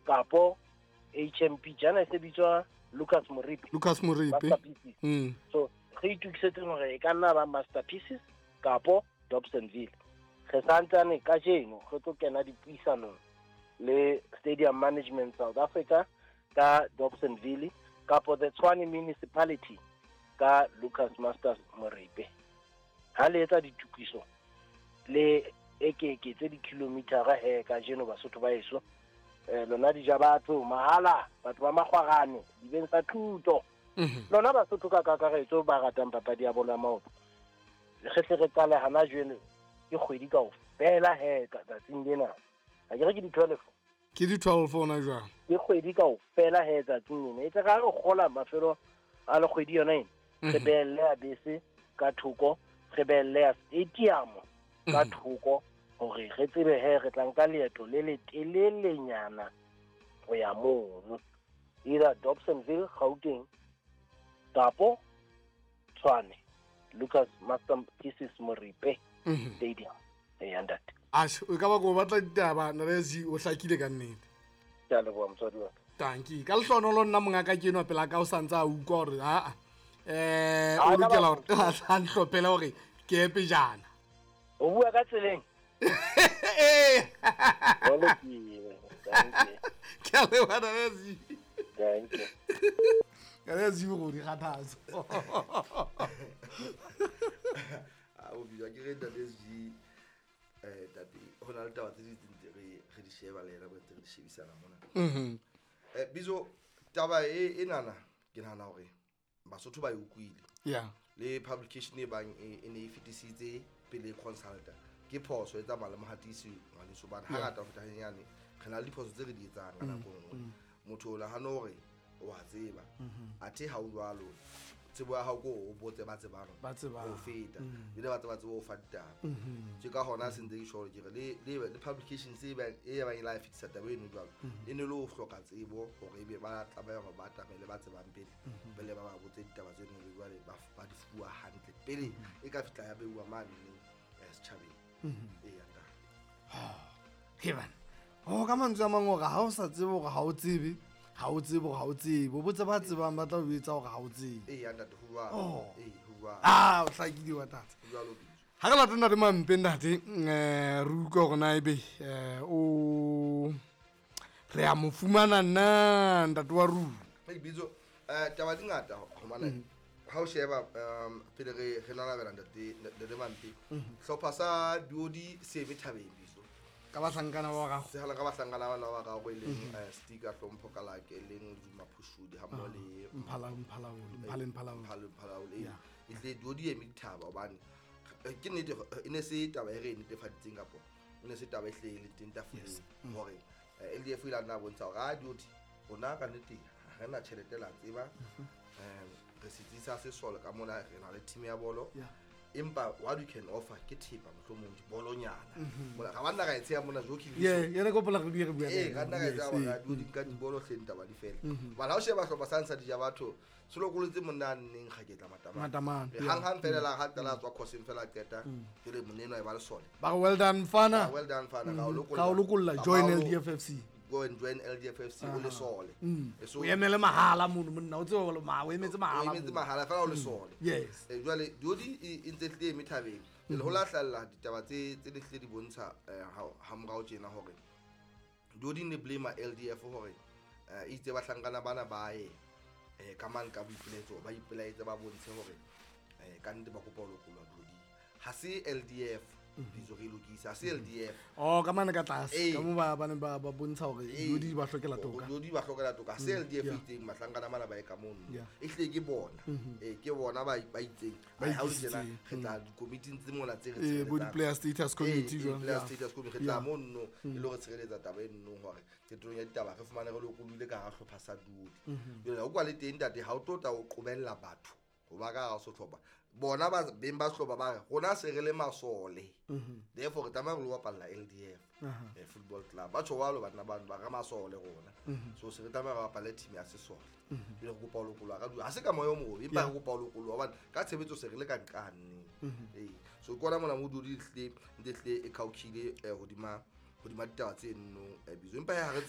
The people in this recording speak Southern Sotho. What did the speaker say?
Kapo HMP jana e se bitswa Lucas Moripe. Lucas Moripe. Masterpieces. So re itukisetseng hore e ka nna ba Masterpieces kapo Dobsonville. Re santsane kajeno re tlo kena dipuisanong le Stadium Management South Africa ka Dobsonville kapo the Tshwane Municipality ka Lucas Masters Moripe. Ha le etsa ditukiso le ekeke tse di-kilometera he kajeno Basotho ba eso, lona dija batho mahala, batho ba makgwarane dibeng tsa thuto, lona Basotho ka kakaretso ba ratang papadi ya bolo ya maoto, re tle re qale hana jwale. Ke kgwedi kaofela he tsatsing lena, ha ke re ke di-12? Ke di-12 ona jwang. Ke kgwedi kaofela he tsatsing lena, e tle ga re kgola mafelo a le kgwedi yona ena, re behelle ya bese ka thoko, re behelle ya stadium ka thoko, hore re tsebe he re tla nka leeto le letelelenyana ho ya mono, either Dobsonville, Gauteng, kapo Tshwane, Lucas Masterpieces Moripe Stadium. Eya ntate. Ashe, o ka ba ko batla ditaba narezi, o hlakile ka nnete. Ke a leboha, motswadi wa ka. Tanki ka lehlonolo, nna mongaka ke enwa pela ka o santse a utlwa hore aa Ah, o ka lokela ba- hore a ntlhophele hore ke ye pejana. O bua ka tseleng. Ee. Ho lokile. Thank you. Ke a leboha, narezi. Thank you. Narezi go di kgathatso. A o bitswa ke re ntate SG, tate ho na le taba tse ding tse re di sheba le yena, ntse re di shebisana mona. Bizo taba e enana, ke nahana hore Basotho ba e utlwile le publication e bang e ne e fetisitse pele e consulta ke phoso e tsamaya le mohatisi ngwaneso, bane hangata ho feta hanyenyane re na le diphoso tse re di etsang ka nako e nngwe. Motho o nahane hore wa tseba, athe ha o jwalo. Tsebo ya hao ko o botse ba tsebang Ba tsebang. ho feta, ebile ba tseba ho fa ditaba. Ke ka hona se ntse ke tjho hore ke re le publication se bang e bang e la fetisa taba eno jwalo, e ne le ho hloka tsebo hore ebe ba tlameha hore ba atamele ba tsebang pele, pele ba botse ditaba tseno, ebe jwale ba di fuwa hantle pele e ka fihla ya beuwa mane setjhabeng. Eya ntate. He bana, o ka mantswe a mang hore ha o sa tsebe hore ha o tsebe, ha o tsebe hore ha o tsebe, o botse ba tsebang, ba tla o etsa hore ha o tsebe. Eya ntate, ho jwalo. Oh. Ee, ho jwalo. Ah, o hlakile wa tata. Ho jwalo, Bitso. Ha re late ntate Mampe, ntate, re utlwa hore na ebe o re a mo fumana na ntate wa rona. Hey, Bitso, taba di ngata hobane ha o sheba, pele re nanabela ntate Mampe, hlopha sa Duodi se eme thabeng, Bitso. Ka bahlankana ba gago. Se hala ka bahlankana bana ba gago, e leng Sticker Hlompho Kalake, e leng Zuma Phushudi, ha mmoho le Mphala Mphalaole. Mphalaole. E hle Duodi eme dithaba hobane ke nnete, e ne se taba e re e netefaditseng, kapo e ne se taba e hle e le teng tafoleng hore LDF e ile a nna bontsha hore a Duodi rona ka nnete ha re na tjhelete, la tseba, re setsi sa sesole ka mona, re na le team ya bolo, empa what we can offer ke thepa, mohlomong dibolonyana mona ga banna ka e tsheya mona joking. Ye yena ko pola re bua le Ee, yena. ka nna ka etsa hore di nka dibolo hleng, taba di fela. Bana ha o sheba hlopha sa ntsha dija batho se lokolotse monna a nneng Kgaketla Matamane. Matamane, Hang fela la ha qala a tswa course fela a qeta, jwale monna enwa e ba lesole. Ba re well done mfana. Ah, well done mfana, ka o lokolla. Ka o lokolla, Ka join LDFFC. Go and join LDFFC o lesole. So O emele mahala mono monna, o tsebe hore o emetse o mahala emetse mono. mahala fela o lesole. Jwale Duodi e ntse hlile eme thabeng. Jwale ho la hlahella ditaba tse di hlile di bontsha ha morao tjena hore Duodi ne blame LDF hore itse bahlankana bana ba ye ka mang ka boipilaetso, ba ipelaetse, ba bontshe hore ka nnete ba kopa ho lokollwa Duodi. Ha se LDF, bitso re lokisa, ha se LDF. Oh, ka mane ka tlase, ka mo ba ne ba bontsha hore Duodi ba hlokela toka. Duodi ba hlokela toka. Ha se LDF itseng bahlankana bana ba ye ka mono. E hlile ke bona. Ke bona ba itseng. Ba Ha o le tjena, ikisitseng. re tla dikomiting tse mona tse re Bo tshireletsang. di-player status committee jwang, Player status committee, re tla mono e le hore tshireletsa taba e nnong hore qetellong ya ditaba re fumane re lokolohile ka hara hlopha sa Duodi. Jwale ha o kwa le teng ntate, ha o tlo tla o qobella batho ho ba ka hara sehlopha. Bona ba beng ba sehlopha ba re rona se re le masole, therefore re tlameha re lo bapalla LDF Football Club. Ba tjho jwalo banna bano, ba re masole rona, so se re tlameha re bapalle team ya sesole. Jwale re kopa ho lokollwa ka ha se ka moya o mobe, empa re kopa ho lokollwa hobane ka tshebetso se re le ka nqane. So ke ona mona mo Duodi hlile ntse hlile e khaokhile hodima ditaba tse nno, bitso, empa ha re tsebe.